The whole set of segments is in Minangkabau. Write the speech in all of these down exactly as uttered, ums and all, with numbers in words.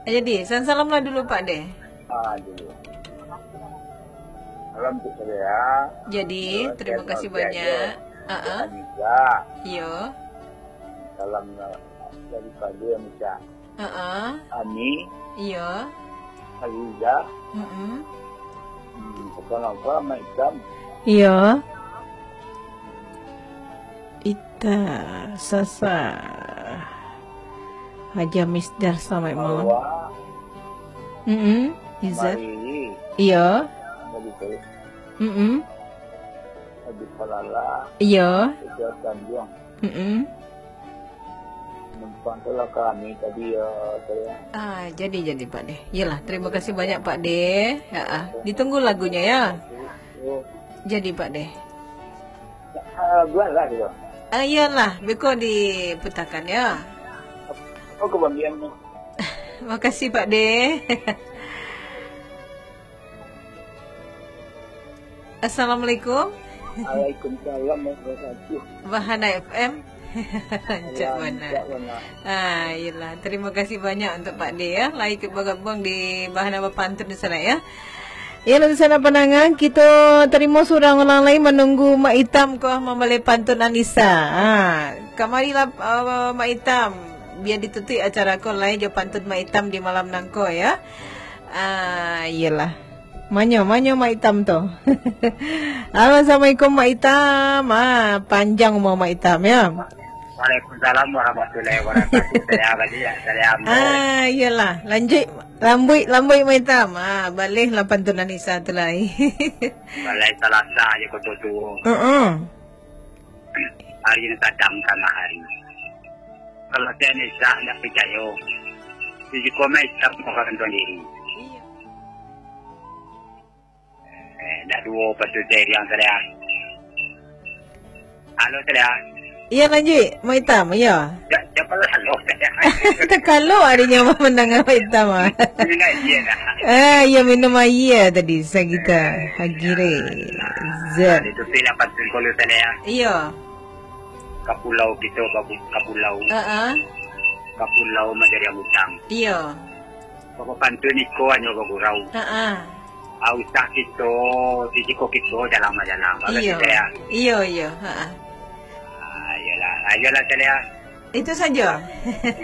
Jadi, salam-salam lah dulu, Pak De. Ah, dulu. Salam tu saya. Jadi, terima kasih banyak. Ah, ah. Anissa. Iyo. Salam dari Pak De, Anissa. Ah, ah. Ani. Iyo. Aziza. Mm-mm. Hmm, pesan apa, Mak Itam? Iyo. Ita Sasa. Haja Misdar, selamat malam. Hawa. Mm-mm. Izzat. Mari. Iyo. Mari, Pak. Mm-mm. Haji Falala. Iyo. Izzat Tanjuang. Mm-mm. Numpang tu lah kami tadi, ya, saya. Ah, jadi, jadi, Pak De. Iyalah, terima kasih banyak, Pak De. Ya, ah. Ditunggu lagunya, ya. Oh. Jadi, Pak De. Ah, buatlah gitu. Ah, iyalah, beko diputakan, ya. Oh, kebahagiaan. Makasih, Pak De. Assalamualaikum. Waalaikumsalam warahmatullahi wabarakatuh. Bahana F M. Rancak bana. Rancak bana. Ah, iyalah. Terima kasih banyak untuk Pak De, ya, lah ikut bergabung di Bahana Bapantun di sana, ya. Ya, lalu sana pandangan, kita terima surang urang lain menunggu Mak Itam ko mambaleh pantun Anissa. Ha, kamarilah, uh, Mak Itam. Biar ditutup acara ko lai jo pantun Mak Itam di malam nangko, ya. Ah, iyalah. Manyo, manyo Mak Itam tu. Halo, assalamualaikum Mak Itam. Ah, panjang umur Mak Itam, ya. Waalaikumsalam warahmatullahi wabarakatuh. Saya Abadi, ya, saya Ambo. Ah, iyalah. Lanjut, lambuik, lambuik Mak Itam. Ah, baleh lah pantun Anissa tu lai. Balai Salasa je koto tuo. Heeh. Hari ni sadang tangah hari. Kalau saya Anissa ndak picayo, di jiko Mak Itam orang tuan diri. Iya. Eh, dah duo pasutai riang, Saleh. Halo, Saleh. Iya, lanjut. Mak Itam, iya. Ja-, jangan halo, Saleh. Takalo adanya mandanga Mak Itam, ah. Minum aia dah. Ah, iya, minum aia tadi, sagita. Eh, Hagire. Nah, Zat. Itu sih lah pantun kalau, Saleh. Iya. Ka pulau kito babu-, ka pulau. Heeh. Ka pulau Majariang Utang. Iya. Bapantun iko hanyo bagurau. Heeh. Ah, usah kito, sisiko kito jalang majalang. Bagus. Iyo. Kito, ya? Iyo, iyo. Heeh. Ah, iyolah. Ah, iyolah, Saleh. Itu saja.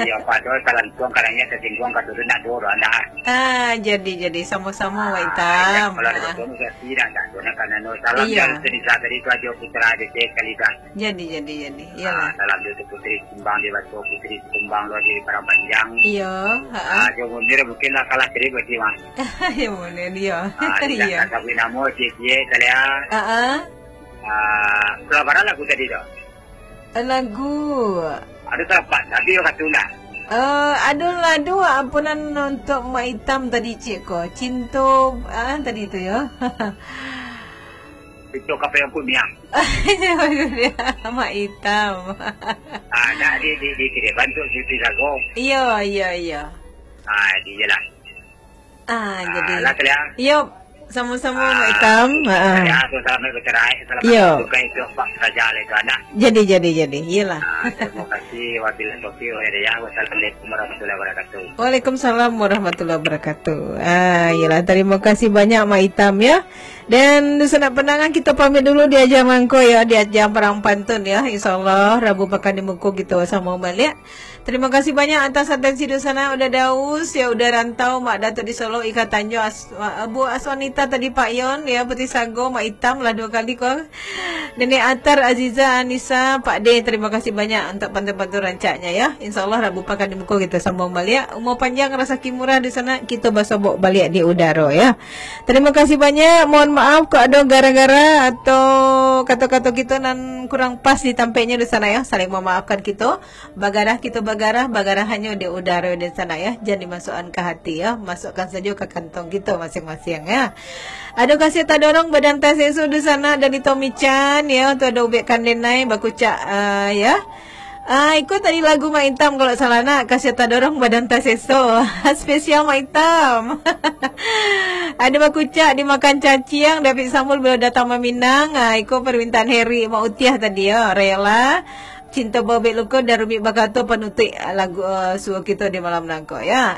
Iyo, Pak, doh, salantuang kadangnya tasingguang, ka turun nak doh, doh, anda. Ah, jadi, jadi. Sama-sama, Mak Itam. Ah, kalau ada betul, saya tidak, tidak, doh, nak, karena, no, salam. Iya. Dari Senisa tadi tu aja, Putra, ada sekali, dah. Jadi, jadi, jadi. Iyalah. Ah, salam dulu tu Putri Sikumbang, dia baca Putri Sikumbang, luar diri Padang Panjang. Iyo, ha-ah. Ah, jo Munir mungkin lah kalah tadi berarti, Mak. Yo, Munir, iyo. Ah, dia. Iyo. Tak sabut nama, cie-cie, Saleh. Ha-ah. Ah, kalau barang lagu tadi tu? Lagu. Ada salah, Pak. Tapi yo kata lah. Eh, aduh lah, aduh, ampunan untuk Mak Itam tadi, cik ko. Cinto, ah, tadi tu, yo. Itu kape yang pun niang. Mak Itam. Ah, nak di, di, di, di, bantu cuti sago. Iyo, iyo, iyo. Ah, di je lah. Ah, jadi. Lah, Saleh. Iyo, sama-sama, Mak Itam. Ah, Saleh, selamat bercerai, selamat berduka itu, Pak, saja lah itu, anak. Jadi, jadi, jadi. Iyalah. Ah, terima kasih. Wabillahi taufiq wal hidayah. Wassalamualaikum warahmatullahi wabarakatuh. Waalaikumsalam warahmatullahi wabarakatuh. Ah, iyalah. Terima kasih banyak, Mak Itam, ya. Dan dunsanak pandangar, kita pamit dulu di ajang mangko, ya, di ajang parang pantun, ya. InsyaAllah, Rabu pakan di muko kita sama baliak. Terima kasih banyak atas atensi dunsanak, Uda Daus, ya, Uda Rantau, Mak Datuk di Solo, Ika Tanjung, As-, Abu Aswanita tadi, Pak Yon, ya, Putri Sago, Mak Itam lah dua kali ko. Nenek Atar, Aziza, Anissa, Pak De, terima kasih banyak untuk pantun-pantun rancaknya, ya. InsyaAllah, Rabu pakan di muko kita sambung baliak. Umur panjang, rasaki murah dunsanak, kita basobok baliak di udaro, ya. Terima kasih banyak. Mohon maaf kok ada gara-gara atau kata-kata kita nan kurang pas di tampeknya dunsanak, ya. Saling memaafkan kita. Bagarah kita bagarah, bagarah hanyo di udaro dunsanak, ya. Jan dimasuakan ka hati, ya. Masuakan sajo ka kantong kita masing-masing, ya. Aduh, kasih tadorong badan tas esok dunsanak dari Tommy Chan, ya. Tu ada Ubek Kandenai, bakucak, ah, ya. Ah, iko tadi lagu Mak Itam kalau salah nak, kasih tadorong badan tas esok. Spesial Mak Itam. Ada bakucak dimakan caciang, David Sambul baru datang maminang. Ah, iko permintaan Heri Mak Utiah tadi, ya. Rela. Cinta Bobek Luko dan Rumik Bakato panutuik lagu, ah, suo kita di malam nangko, ya.